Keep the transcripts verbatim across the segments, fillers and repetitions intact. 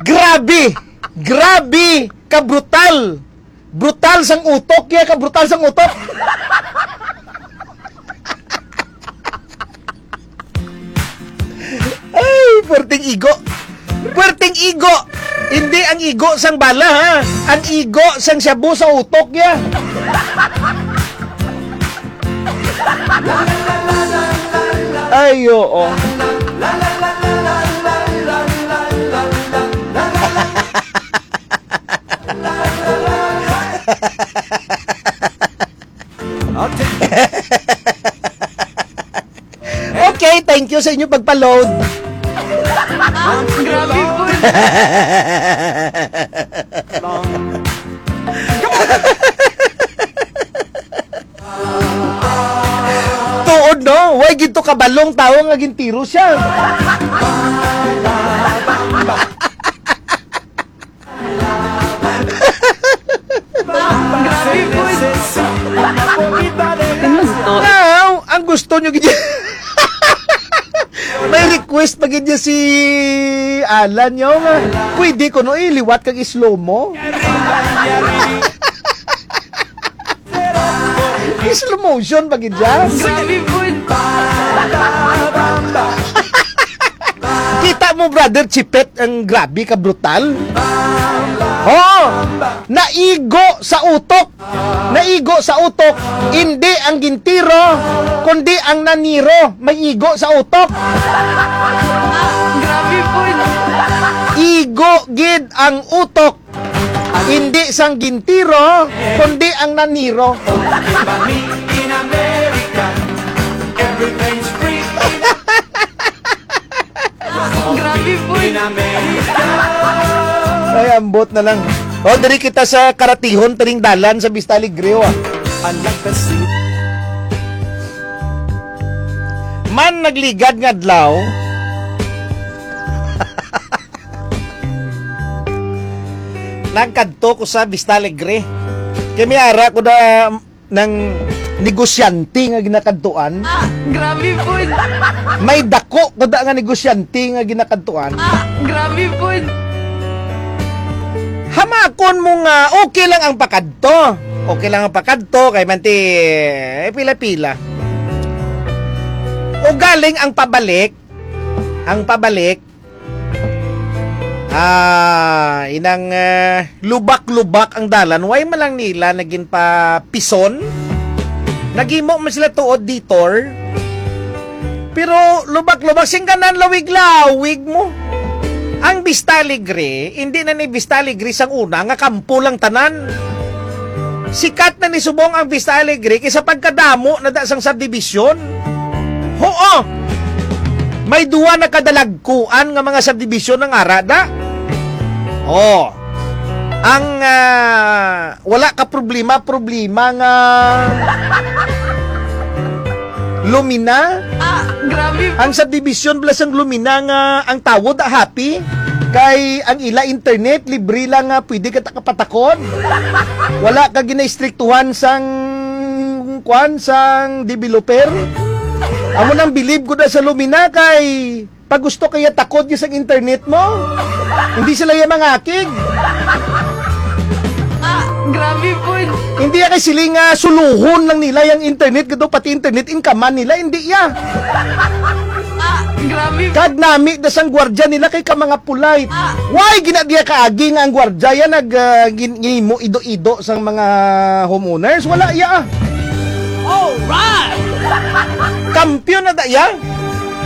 Grabe! Grabe! Ka brutal! Brutal sang utok, ya, ka brutal sang utok. Ay, perting igo. Perting igo. Hindi ang igo sang bala, ha. Ang igo sang shabu sa utok, ya. Ay, oo. Okay, thank you sa inyo pagpa-load. Grabe po. Tuod, no? Way gid to kabalong tawo nga gintiro siya. Grabe po. Now, ang gusto nyo gid may request pa gid niya si Alan, yo, nga pwede ko no iliwat kag slow mo. Slow motion pa gid siya. Grabe po. Kita mo, brother Chipet, ang grabe ka brutal. Oh, naigo sa utok. Naigo sa utok. Hindi ang gintiro, kundi ang naniro may igo sa utok. Grabe po. Igo gid ang utok. Hindi sang gintiro, kundi ang naniro. Grabe po. Ay, ambot na lang. O, diri kita sa karatihon, tining dalan sa Vista Alegre, ah. Man nagligad nga adlaw, nagkadto ko sa Vista Alegre. Kay may ara ko na nang negosyante nga ginakadtuan. Grabe po. May dako ko da nga negosyante nga ginakadtuan. Grabe po. Hamakon mo nga okay lang ang pakadto. Okay lang ang pakadto kay manti eh, pila-pila. O galing ang pabalik, ang pabalik, ah, inang eh, lubak-lubak ang dalan. Way man lang nila naging pa pison. Nagimo man sila tuod detour. Pero lubak-lubak, sing kanan lawig-lawig mo. Ang Vista Alegre, hindi na ni Vista Alegre sang una nga kampo lang tanan. Sikat na ni subong ang Vista Alegre kaysa pagkadamo na da sang subdivision. Huo! May duwa na kadalagkuan nga mga subdivision ang ara da. Oh. Ang ah, wala ka problema, problema nga Lumina. Ah, grabe. Ang subdivision pala sang Lumina nga ang tawo da happy kay ang ila internet libre lang nga pwede ka ta kapatakon. Wala ka ginaistriktuhan sang kwan sang developer. Amo nang bilib ko na sa Lumina kay pag gusto kaya takod niya sa internet mo. Hindi sila yung mangakig. Ah, grabe po. Hindi ya kay sila nga suluhon lang nila yung internet, gado pati internet, inkaman nila, hindi ya. Ah, grabe. Kag nami da sang gwardya nila kay ka mga polite. Why gina diya kaagi nga ang gwardya yan nag ah, gin- gimo ido-ido sang mga homeowners? Wala ya. Alright. Kampiyon na da ya.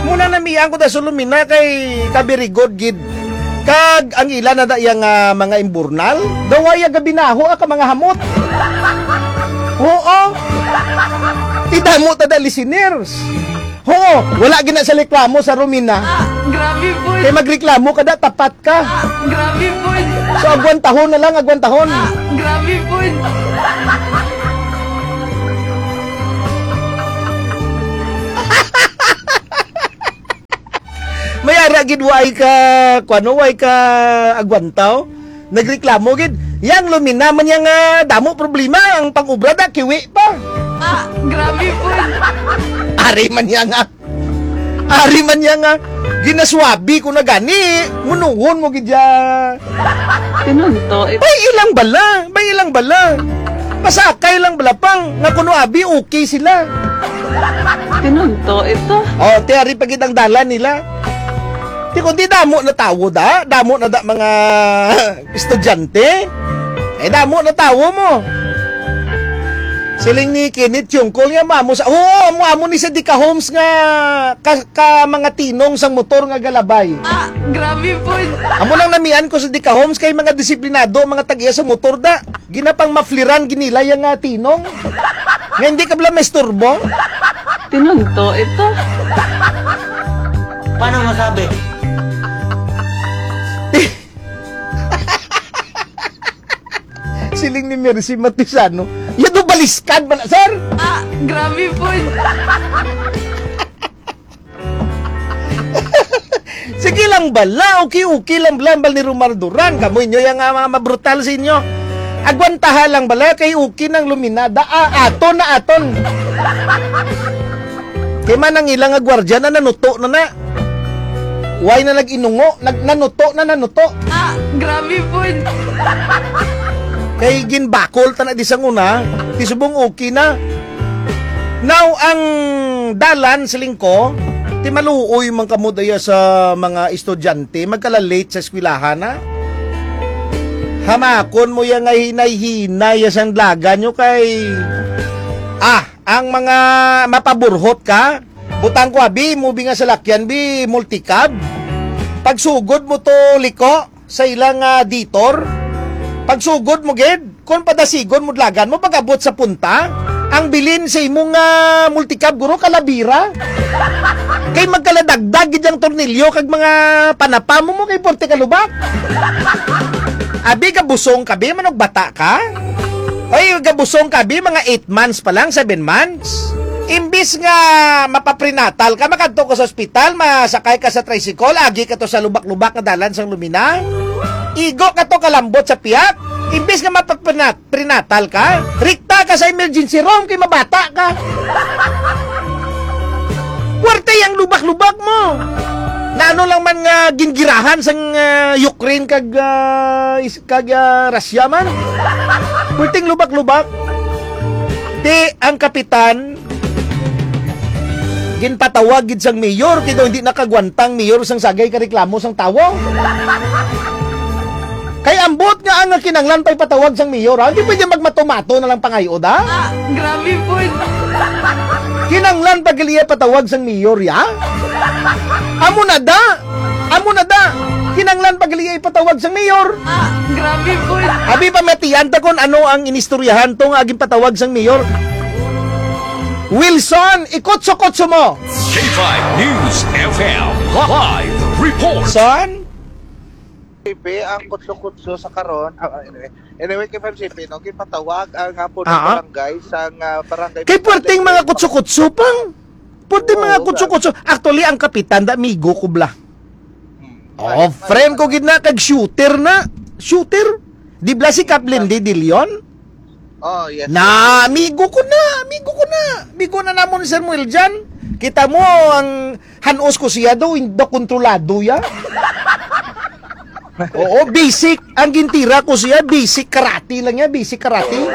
Muna na miyang ko da sulumina kay kabirigod gid. Kag ang ila na da iya nga mga imburnal, daw ay gabinaho ah, ka mga hamot. Oo. Idamo ta da listeners. Oo, wala gina sa reklamo sa Romina. Ah, grabe po. Kay magreklamo ka da, tapat ka. Ah, grabe po. So, agwantahon na lang, agwantahon. Ah, grabe po. May ara gid way ka, kuano, way ka agwantaw. Nagreklamo gid. Yang Lumina man yang ah, damo problema ang pang-obra da, kiwi pa. Ah, grabe po. Ari man yang ah, Ari man niya nga, ginaswabi ko na gani, munuhon mo gid ya. Tinunto, it- Bay ilang bala, bay ilang bala. Pasakay lang bala pang, nga kuno abi, okay sila. Tinunto, ito. Oh, ti ari pa gid ang dalan nila. Ti kundi damo na tawo da, damo na da mga estudyante. Eh, damo na tawo mo. Siling ni Kenneth Yungkol nga, maamo sa, oo, mo amo ni sa Dika Homes nga ka, ka mga tinong sang motor nga galabay. Ah, grabe po. Amo lang namian ko sa Dika Homes kay mga disiplinado, mga tag-iya sa motor da. Ginapang mafliran, ginilay ang, ah, tinong. Nga hindi ka bala maisturbo. Tinunto ito. Paano masabi? Siling ni Mercy Matisano, "Yan do baliskad man, sir." Ah, grabe po. Sige lang bala, okay, okay lang bala, bal ni Romar Duran. Kamo inyo yang, ah, mga mabrutal sa inyo. Agwantaha lang bala, kay okay nang luminada. Ah, aton na aton. Kay man ang ilang nga gwardya na nanuto na na. Way na nag-inungo, nag-, nanuto na nanuto. Ah, grabe po. Kay ginbakol ta na di sang una, ti subong okay na. Now, ang dalan, siling ko, ti maluoy man kamo daya sa mga estudyante, magkala-late sa eskwelahan, ha? Hamakon mo ya nga hinay-hinay ya sang dalagan nyo kay, ah, ang mga mapaburhot ka, butang ko abi, mo bi nga salakyan bi, multicab. Pagsugod mo to liko sa ilang, ah, ditor. Pagsugod mo gid, kon padasigon mo dalagan mo, pag-abot sa punta, ang bilin sa imong, ah, multicab, guro, kalabira. Kay magkaladagdag gid ang tornilyo kag mga panapa mo, mo kay porte ka lubak. Abi, gabusong ka, bi, manog bata ka. Oy, gabusong ka, bi, mga eight months pa lang, seven months. Imbis nga mapaprenatal ka, makadto ka sa ospital, masakay ka sa tricycle, agi ka to sa lubak-lubak nga dalan sang Lumina. Igo ka to kalambot sa pihak. Imbis nga mapaprenat-, prenatal ka, rikta ka sa emergency room kay mabata ka. Puwerte yang lubak-lubak mo. Naano lang man nga gingirahan sang, ah, Ukraine kag, ah, is-, kag, ah, Russia man. Puwerteng lubak-lubak. Ti ang kapitan, ginpatawag gid sang mayor, kay daw hindi nakagwantang mayor sang sagay ka reklamo sang tawo. Kay ambot nga ang kinanglan pa ipatawag sang mayor, ha? Hindi pwede magmatomato na lang pangayo, da? Ah, grabe po. Kinanglan pa gali ipatawag sang mayor, ya? Amo na, da? Amo na, da? Kinanglan pa gali ipatawag sang mayor. Ah, grabe po. Abi pa matiyan ta kon ano ang inistoryahan to nga ginpatawag sang mayor. Wilson, ikutso-kutso mo. K five News F M live report. Son? P P, ang kutso-kutso sa karon. Ah, ah, anyway. Anyway, K five C P, no, ginpatawag ang, ah, punong Ah, ah. barangay sang, ah, barangay Kay puwerteng mga kutso-kutso pang. Puwerteng mga Oo, kutso-kutso. Actually, ang kapitan, da, amigo ko bla. Hmm. Oh, Ay, friend ko ay, gid na, kag shooter na. Shooter? Di bla si Kap Lindy De Leon? Oh, yes, yes. Na, amigo ko na, amigo ko na. Amigo na namon ni Sir Muel dyan. Kita mo, ang hanos ko siya daw, in-, daw kontrolado ya. Oo, basic. Ang gintira ko siya, basic karate lang ya, basic karate.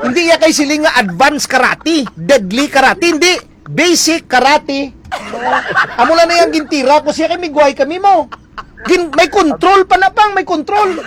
Hindi ya kay siling nga advanced karate, deadly karate, hindi. Basic karate. Amo lang na yang gintira ko siya kay migway kami mo. Gin-, may control pa na pang, may control.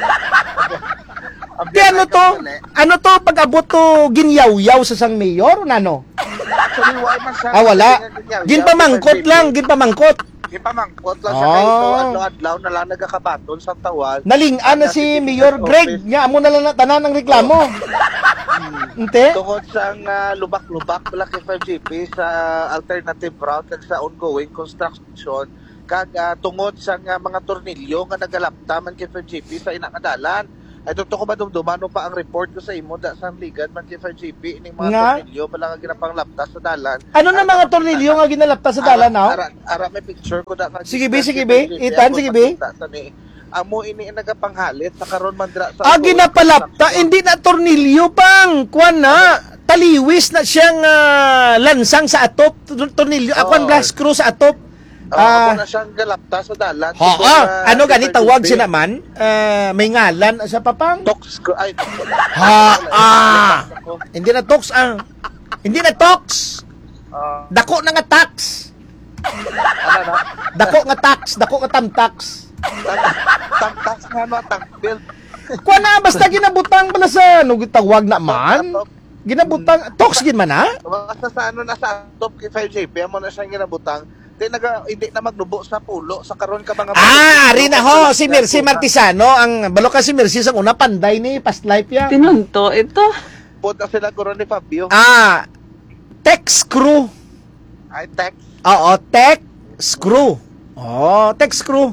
Ang Ti ano biyahe to? ka pala, eh. Ano to? Pag-abot to, ginyawyaw sa sang mayor, nano? Actually, wala man siya. Ah, wala. Kasi nga, ginyawyaw, Ginpamangkot kasi lang, ginpamangkot. Ginpamangkot lang siya. Kay ito, Oh. adlaw-adlaw na lang nagakabaton sa tawag. Naling-an na Ang si nasa Mayor Greg, office. Nga amo na lang na tanan ang reklamo. Hmm. Ente? Tungod sa nga lubak-lubak pala kay five G P sa alternative route kag sa ongoing construction, kag, ah, tungod sa nga mga tornilyo nga nagalapta man kay five G P sa ina nga dalan. Ay, tungtong ko madumduman mo pa ang report ko sa imo, da, sang ligad man kay five G P, ining mga Nga? tornilyo pala nga ginapanglapta sa dalan. Ano na Ang mga mga tornilyo nga ginalapta sa Ara, dalan, aw? ara, ara, may picture ko, da, nga Sige, be, gisa sige, kay be. five G P, Itan, ako sige, be. makita ta ni. Amo ini ang nagapanghalit sa karon man dira sa Ah, ongoing ginapalapta, construction. Hindi na tornilyo pang, kuwan na, Ano? Taliwis na siyang, ah, lansang sa atop, tor-, tornilyo, ah, kuwan, Oo. bla, screw sa atop. Ah, Ah. Amo na siyang galapta sa dalan. Oo. Before, ah, Ano gani before tawag Tuesday. Siya naman? Ah, may ngalan sa papang? Tox ko, ay. Ha, ah. Ako. Hindi na tox, ah. Hindi na tox. Ah. Dako na nga tax. Ano na? Dako nga tax, dako nga tamtax. Tam-, tamtax nga, no, tank build. Kuha na, basta ginabutang pala sa, ano, tawag na man? Atop. Ginabutang, tox gid man, ha? Basta sa ano na sa atop kay five J P, amo na siyang ginabutang. Di naga-, hindi na magnubo sa pulo, sa karon ka mga Ah, ari na ho, si Mercy Martisano, ang balo ka si Mercy sa una, panday ni past life ya. Tinunto ito. Pod na sila karon ni Fabio. Ah, tech screw. Ay, tech. Oo, tech screw. Oh, tech screw.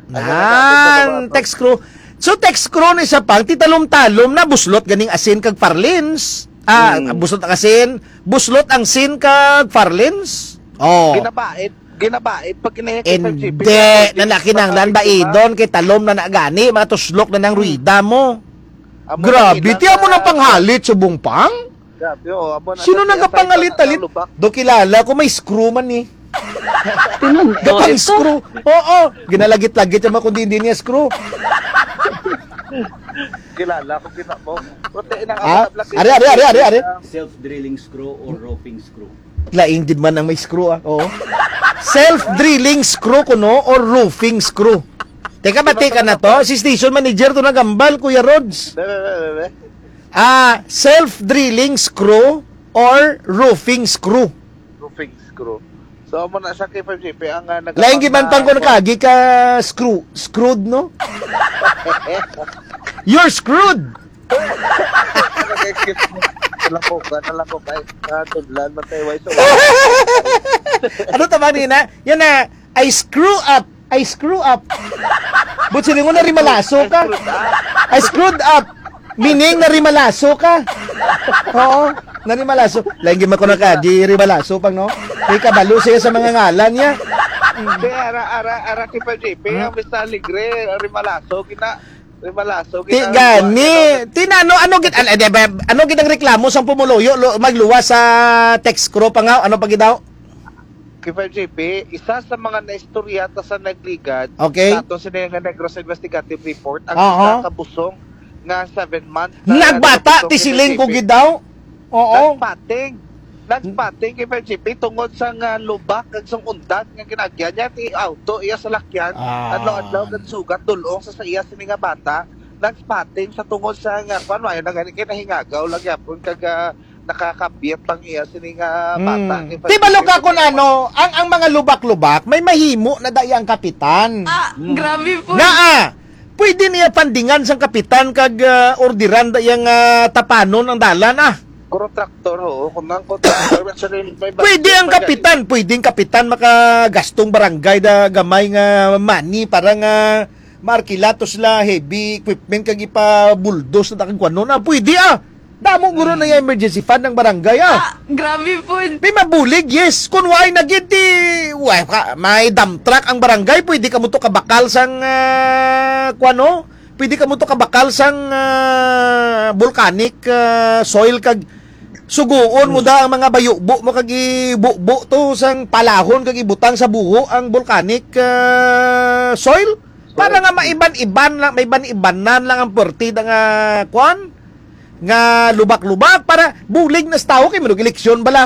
Ay, Nan, ano, ano, ano, ano? Tech screw. So, tech screw ni sa pang, titalom-talom na, buslot ganing asin kag farlins. Ah, Hmm. buslot ang asin, buslot ang sin kag farlins. Oh. Ginabaid, ginabaid. Pag kinaya kay Hindi, five G P, na nakinanglan ba idon kay talom na nagani, matuslok na nang Hmm. ruida mo. Amo Grabe, na, ti amo nang ah, panghalit subong pang? Grabe, oh, amo na Sino sa nagapangalit-alit? Lubak. Do kilala ko, may screw man eh. Tinunto Gatang ito. Screw. Oo, ginalagit-lagit yung mga kundi hindi niya screw. Kilala ko, kita mo. Puti, inang Ah, ako na black are, are, are, are, are. Self-drilling screw or roofing screw? Laing gid man ang may screw, ah. Oo. Self-drilling screw kuno or roofing screw? Teka ba, teka na to? Si station manager to nagambal, Kuya Rods. Be, be, be, be, be. Ah, self-drilling screw or roofing screw? Roofing screw. So, amo na siya kay five G P ang, ah, Lain gid man pang nagapang-, kuno kagi ka screw, screwed, no? You're screwed! Nalako ka, nalako ka. Ah, tudlan, matay, way, so. Ano tama ni na? Yan na, I screw up. I screw up. But sila mo na rimalaso ka. I screwed up. Meaning na rimalaso ka. Oo. Na rimalaso. Lain gid man ko na ka, di rimalaso pang, no? May kabalo siya sa mga ngalan niya. Hindi, ara, ara, ara, kay five G P, Hmm? ang Mister Alegre, rimalaso, gina, rimalaso, Ti gina, gani. gina, Ti na, ano, ano gid, ano, di ba, ano gid ang reklamo sang pumuluyo, lo-, magluwas sa tech screw pa nga, ano pa gid daw? Kay five G P, isa sa mga naistorya ta sa nagligad, Okay. sa ato sini nga Negros Investigative Report, ang Aha. isa ka busong nga seven months na Nagbata, nabusong ti siling ko kay five G P. Gid daw. Oo. Nagpating. Nagpating kay five G P tungod sa nga lubak kag sang undat nga ginagyan niya ti auto iya salakyan. Ah. Adlaw-adlaw nagsugat dul-ong sa, sa iya sini nga bata. Nagpating sa tungod sa nga, kuwan, wala na gani kay nahingagaw lang yapon kag, ah, nakakabyat pang iya sini nga bata Hmm. kay Di ba, Loka, kung ano, ang, ang mga lubak-lubak, may mahimo na dai ang kapitan. Ah, Hmm. grabe po. Naa, pwede niya pandingan sang kapitan kag, ah, orderan da iyang, ah, tapanon ang dalan, ah. Kuro traktor, oo. Kung ang kuro traktor, actually, may Pwede ang budget pa kapitan, pwede ang kapitan makagastong barangay da gamay nga money para nga maarkila to sila heavy equipment kag ipa-bulldoze na kag kuno na. Pwede, ah. Damo guro na yung emergency fund ng barangay, ah. Ah, grabe po. May mabulig, yes. Kung why na gid, di, why ka, may dump truck ang barangay, pwede ka mo to kabakal sang, ah, kuano? Pwede ka mo to kabakal sang, ah, volcanic, ah, soil kag suguon mo da ang mga bayubo mo kag ibubo to sang palahon kag ibutang sa buho ang volcanic, ah, soil para nga maiban-iban lang, maiban-ibanan lang ang perti da nga kwan nga lubak-lubak para bulig na sa tawo kay manug eleksyon bala.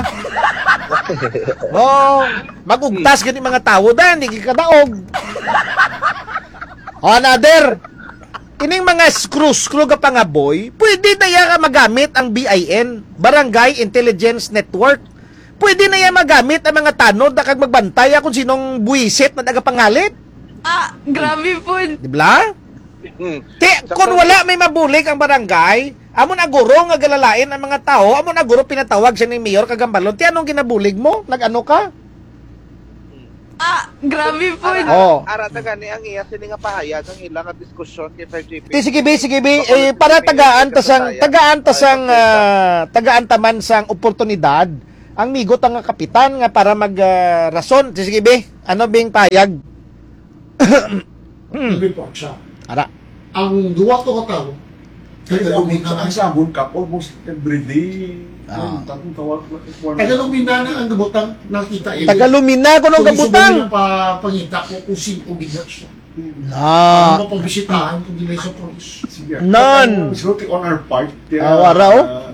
Oh, magugtas gani mga tawo da, hindi kadaog. Oh, another. Ining mga screw-screw nga pangaboy, pwede na iya nga magamit ang B I N, Barangay Intelligence Network. Pwede na iya magamit ang mga tanod na kag magbantay kung sinong buwisit na nagapangalit. Ah, grabe po. Di ba? Hmm. Ti, Sa kung pag- wala may mabulig ang barangay, amo na guro nga galalain ang mga tao, amo na guro pinatawag siya ni Mayor Kagambalon. Ti, anong ginabulig mo? Nag-ano ka? Ah, grabe po. Ara, Oh. ara ta gani ang iya sini nga pahayag, ang ila nga diskusyon kay five G P. Ti, sige, bi, sige, bi. So, Eh, para sige, bi, tagaan ta sige, sang, tagaan. Tagaan ta sang, ah, tagaan ta man sang oportunidad ang migo ta nga kapitan nga para mag, ah, rason. Ti, sige, bi. Ano bing pahayag? Hmm. Report siya. Ara. Ang duwa to ka tawo, Kaya ang, ang sa amon ka, almost every day. Ah. Ang tatong tawag, Tagalumina na ang kabutang, nakita, eh. Tagalumina ko ng Kung gusto kabutang. Mo nila pa, pangita ko kung sino gid na siya. Na. Ang mapabisitahan kung di may sa polis. Sige. Nan. Ang guilty on our part, kaya, Ah, wala, oh. Ah,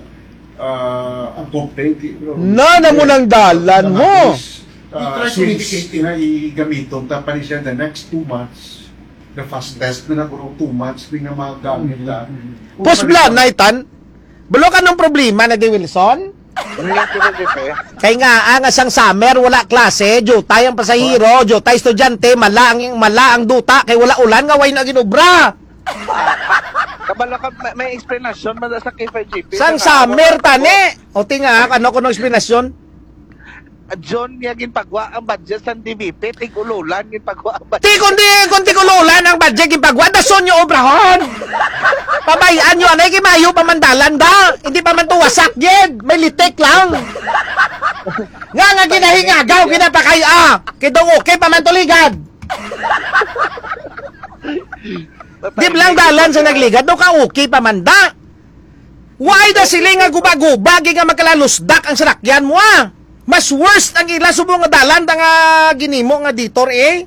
ah, ang complaint, eh, bro. Nan, amo nang dalan Mga mo. Polis, ah, We try to since mitigate it. Nga igamiton, tapos siya the next two months, the fastest na na, bro, two months, di nga magamit na. Mm-hmm. Kung Post pala blanay, tan? Balo ka nung problema na di Wilson? Hindi, Kuya Jefe. Kay nga, ang asang summer, wala klase, jutay ang pasahero, jutay estudyante, mala ang, mala ang duta, kay wala ulan nga way na ginubra. Kabalo ka, may, may explanation man sa K five G P. Sang Sa summer, ako, tani. O, tinga, ano ko nung explanation? John, niya ginpagwa ang budget sa D B P, tig-ululan ginpagwa ang budget. Ti, kundi, kung tig-ululan ang budget, ginpagwa, dason nyo obrahon. Pabayaan nyo, anay, kimayo pa man dalan da. Hindi pa man to wasak, gid. May litik lang. Nga, nga, ginahingagaw, ginapakay, ah. Kidong okay pa man to ligad. Di lang dalan sa nagligad, no, ka okay pa man da. Why da sila nga guba-guba, gid nga magkalalusdak ang salakyan mo, ah? Mas worst ang ila subong nga dalan da nga ginimo nga detour, eh.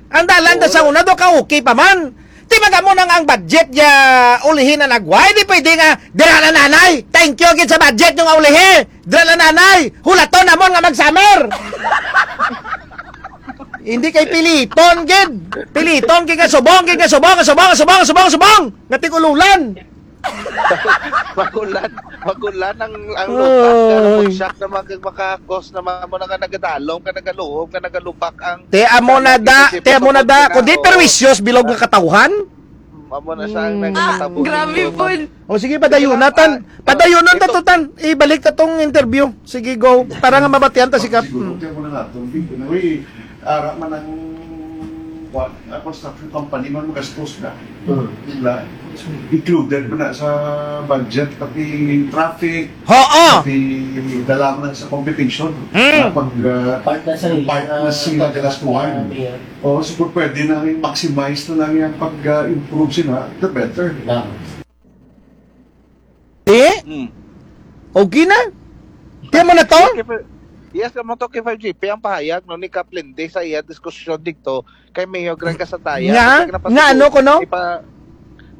Ang dalan da sa una, do ka okay pa man. Ti magamo nang ang budget ya ulihin na nagway, di pwede nga, "Dira na, nanay. Thank you gid sa budget nyo nga ulihi. Dira na, nanay. Hulaton namon nga mag-summer." Hindi kay piliton gid. Piliton gid nga subong, gid nga subong, subong, subong, subong, subong. Nga tig-ululan. Magulan, magulan ang, ang lupa. Ay. Pero mag-shock na mag-, makakos na mga mo na nga nagadalom, ka nagaluhog, ka nagalubak ang Te amo na da, te amo na da. Kundi perwisyos bilog nga katawhan. Amo na siya ang Mm. nagkatabo Grabe dito. Po. O sige, padayon Sige lang, natan. ah, Padayon sige, natan ito. Tutan. Ibalik ta tong interview. Sige, go. Para nga mabatian ta si Kap. Siguro, Mm. kaya mo na natin, Vic, na, uy, ara man ang, kuwan, ang construction company man magastos na. Mm. Diba? Included mo na sa budget, pati traffic, Oo. pati dala mo na sa competition. Mm. Na pag, ah, Part na sa part na ah, sila pag- galastuhan. ah, mayor. Oo, so kung pwede na i-maximize na lang yung pag, ah, improve sila, the better. Tama. Eh? Hmm. Okay na? Tiyan mo na to? Yes, amo to K five G P ang pahayag, no, ni Kap Lindy sa iya diskusyon dito kay Mayor Greg Casandaya. Nga? Kasi nga Nga, ano ko, no? Ipa-,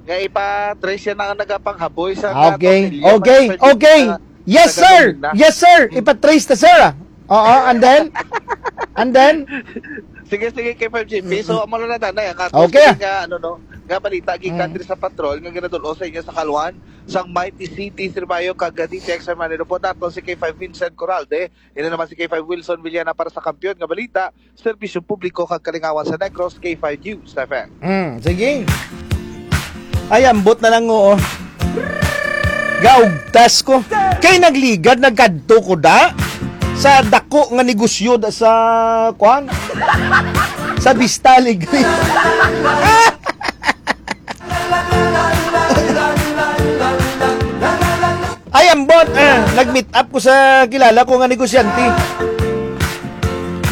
nga ipa-trace yan ang nagapanghaboy sa Ah, okay. Tornilyo, Okay. K five G P Okay. sa Yes, sir. Tagalog na. Yes, sir. Hmm. Ipa-trace ta, sir, ah. Oo, and then? And then? Sige, sige, K five G P. So, Mm-mm. amo na na, danay, ang ato Okay. Sige nga, ano, no, nga balita, gikan Mm. diri sa patrol, nga ginadul-ong sa inyo sa kaluhan, sang Mighty City, Sirbayo, kag D T X Hermano Lupon, nato si K five Vincent Coralde, ina naman si K five Wilson Villana para sa Kampiyon nga Balita, Serbisyo Publiko kag Kalingawan sa Negros, K five News F M. Mm, sige. Ay, ambot na lang, oo. Gaugtas ko. Kay nagligad, nagkadto ko da sa dako nga negosyo da sa, kuan? Sa Vista Alegre. Ay, ambot, ah, nag-meet up ko sa kilala ko nga negosyante.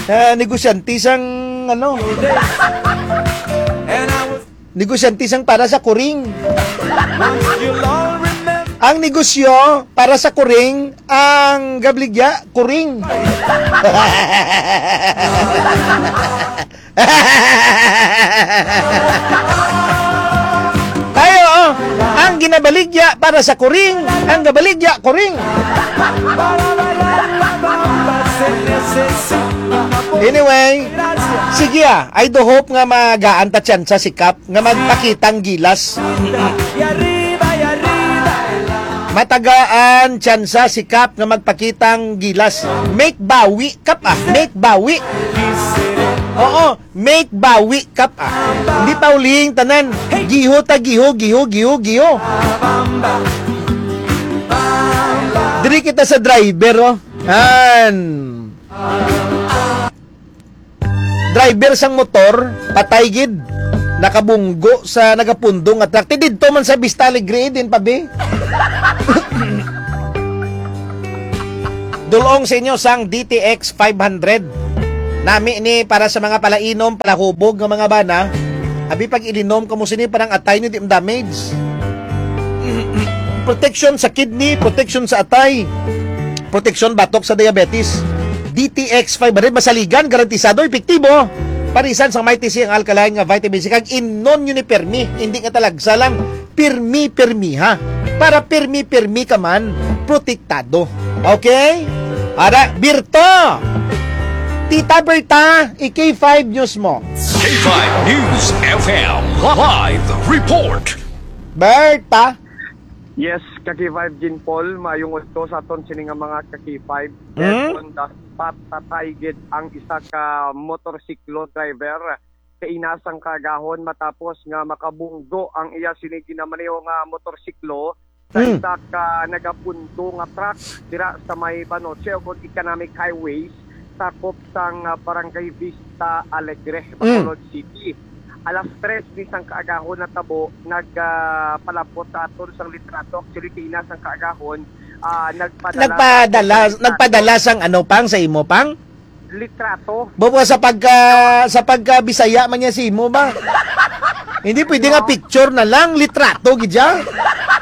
Ah, negosyante sang, ano, negosyante sang para sa kuring. Ang negosyo para sa kuring, ang gabaligya, kuring. Tayo, oh. Ang ginabaligya para sa kuring, ang gabaligya, kuring. Anyway, sige, ah. I do hope nga magaan ta tsansa si Kap nga magpakitang gilas. Matagaan tsansa si Kap nga magpakitang gilas. Make bawi, Kap, ah. Make bawi. Oo, make bawi, Kap, ah. Hindi pa uling tanan. Giho ta, giho, giho, giho, giho. Diri kita sa driver, oh. Han. Driver sang motor, patay gid. Nakabunggo sa nagapundong nga truck. Ti didto man sa Vista Alegre, din pa, be. Dulong sa inyo sang D T X five hundred. Nami ni para sa mga palainom, palahubog nga mga bana. Abi, pag ilinom kamo sini, parang atay ni di damage. Protection sa kidney, protection sa atay, protection batok sa diabetes. D T X five hundred, masaligan, garantisado, epektibo. Parisan sang Mighty C ang alkaline nga vitamin C, kag imnon yun ni permi, hindi nga talagsa lang, permi-permi ha. Para permi-permi ka man, protektado. Okay? Ara, Birto! Tita Berta, i-K five News mo. K five News F M live report. Berta! Yes, ka-K five Jean Paul, maayong udto sa aton sini nga mga ka-K five. Hmm? Dead on the spot, patay gid ang isa ka motorsiklo driver. Kaina sang kaagahon matapos nga makabunggo ang iya sini ginamaneho nga motorsiklo sa Hmm. isa ka nagapundo nga truck dira sa may Banoche ug Economic Highways, sakop sang, ah, Barangay Vista Alegre, Mm. Bacolod City. Alas tres ni sang kaagahon natabo, nagpalapot sa aton sang litrato. Actually, kaina sang kaagahon, ah, nagpadala Nagpadala, sa aton nagpadala sang ano, pang, sa imo, pang? Litrato. Bubo sa pagka, sa pagka Bisaya man niya sa imo ba? Hindi pwede nga No. picture na lang, litrato gid siya.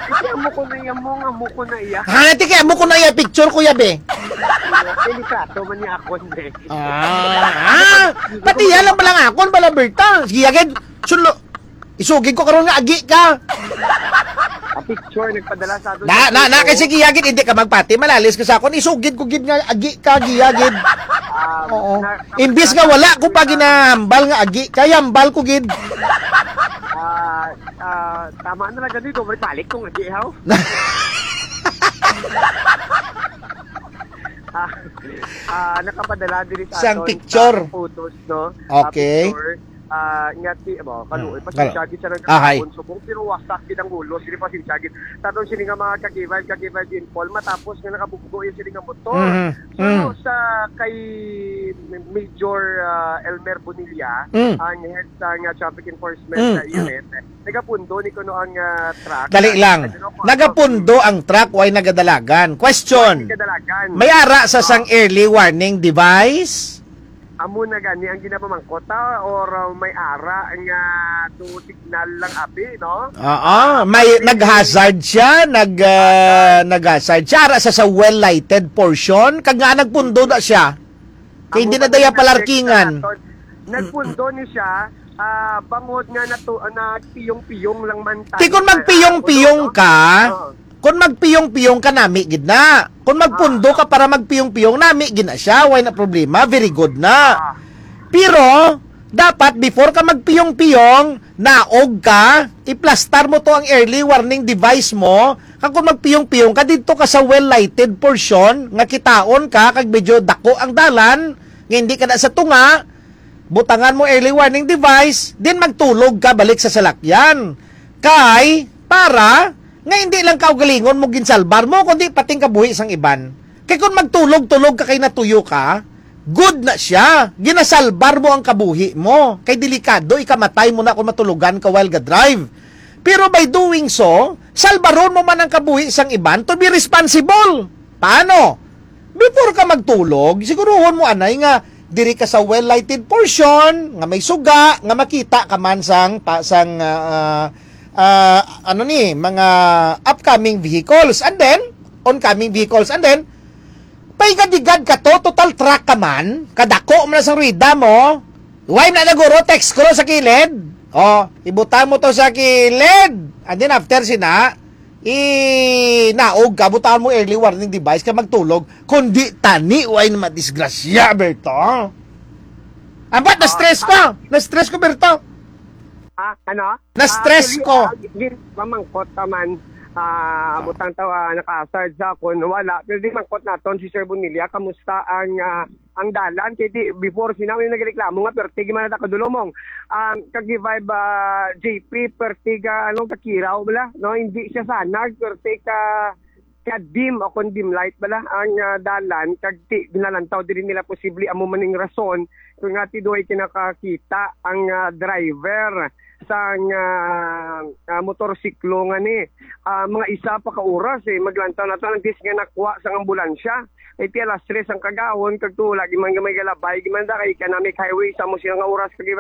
Kasi amo ko na iya mo, nga amo ko na iya. Ha, ti kay amo ko na iya picture, kuya be. Kay litrato man niya ako, hindi. Ah, ah, pati yan lang pala nga akon, pala Berta. Sige, agad, sulo, isugid ko karon nga agi ka. A picture, nagpadala sa ato Na, sa na, na, photo. Kasi giyagid, hindi ka magpati, malalis ka sa akon. Isugid ko gid nga agi ka, giyagid. Um, Oo. na- Imbis nga wala ko pa ginahambal nga agi, kay hambal ko gid. Ah, ah, tama na lang ganito, balik kong agi, haw? Ah, ah, nakapadala diri sa Sang aton picture. sa photos, no? Ah, Okay. picture. Ah, nga ti, abo, kaluoy, Hmm. pasensya Kalo-, gid sa ahay. nagkakaon subong, pero wasak gid ang ulo, sige, pasensya gid. Sa aton sini nga mga ka-K five, ka-K five Jean Paul, matapos nga nakabunggo yung sini nga motor. Mhm. So, Mm. sa kay Major, ah, Elmer Bonilla, Mm. ang head sa nga traffic enforcement Mm, sa mm. unit, nagapundo ni kuno ang, ah, truck. Dali lang. I don't know kung ano. Nagapundo ang truck, way nagadalagan. Question. Way nagadalagan. May ara sa Ah. sang early warning device? Amo na gani ang ginapamangkot, ah, or, ah, may ara nga to signal lang abi, no? Oo, Ah, may may nag-hazard siya, nag, ah, Hazard. nag-hazard siya. Ara sa, sa well-lighted portion, kag nga nagpundo na siya. Kay Amo hindi na man daya ang palarkingan. nagpundo ni siya, ah, bangod nga natu-, ah, nagpiyong-piyong lang man tayo Ti kung na, ah, magpiyong-piyong ulo, no? ka, Oo. kung magpiyong-piyong ka, nami gid na. Kung magpundo Ah. ka para magpiyong-piyong, nami gid na siya. Way na problema. Very good na. Ah. Pero, dapat before ka magpiyong-piyong, naog ka, iplastar mo to ang early warning device mo, kag kung magpiyong-piyong ka, didto ka sa well-lighted portion, nga kitaon ka, kag medyo dako ang dalan, nga hindi ka na sa tunga, butangan mo early warning device, then magtulog ka balik sa salakyan. Kay, para, nga hindi lang kaugalingon mo ginsalbar mo, kundi pating kabuhi sang iban. Kay kung magtulog-tulog ka kay natuyo ka, good na siya. Ginasalbar mo ang kabuhi mo. Kay delikado, ikamatay mo na kung matulogan ka while ga-drive. Pero by doing so, salbaron mo man ang kabuhi sang iban to be responsible. Paano? Before ka magtulog, siguruhon mo anay nga diri ka sa well-lighted portion, nga may suga, nga makita ka man sang, pa, sang, ah, ah, ah, ano ni, mga upcoming vehicles. And then, oncoming vehicles. And then, paigadigad ka to, total truck ka man, kadako man na sang rueda mo. Why na naguro, text ko sa kilid? Oh, ibutang mo to sa kilid. And then after sina, i-, naog ka, butangan mo early warning device ka magtulog. Kundi tani, way na madisgrasya, Berto. Ambat, Ah, na-stress ko. ah. Na-stress ko, Berto. Ah, ano? Na-stress Ah, ko. Actually, ah, gin-, mamangkot naman, ah, Ah. butang tawa, naka-hazard sa akon, wala. Pero di mangkot naton si Sir Bonilla, kamusta ang, ah, ang dalan? Kay di, before, sinaw yung nagreklamo nga, perti, gimana ta kadulomong. Um, kag vibe, ah, J P, perti ka, ano, kakiraw, bala? No, hindi siya sanag, perti ka, ka dim o kon dim light bala ang, ah, dalan, kag ti-, binalantaw diri nila posible amo man ning rason kung nga ti duhay kinakakita ang, ah, driver sang, ah, ah, motorsiklo nga ni, ah, mga isa pa ka oras, eh, maglantaw na to, ang dis nga nakuha sang ambulansya. Iti alas tres ang kagahon, kag to, lagi man gamay galabay, gimanda kay economic highway, sa mo sila nga oras, kag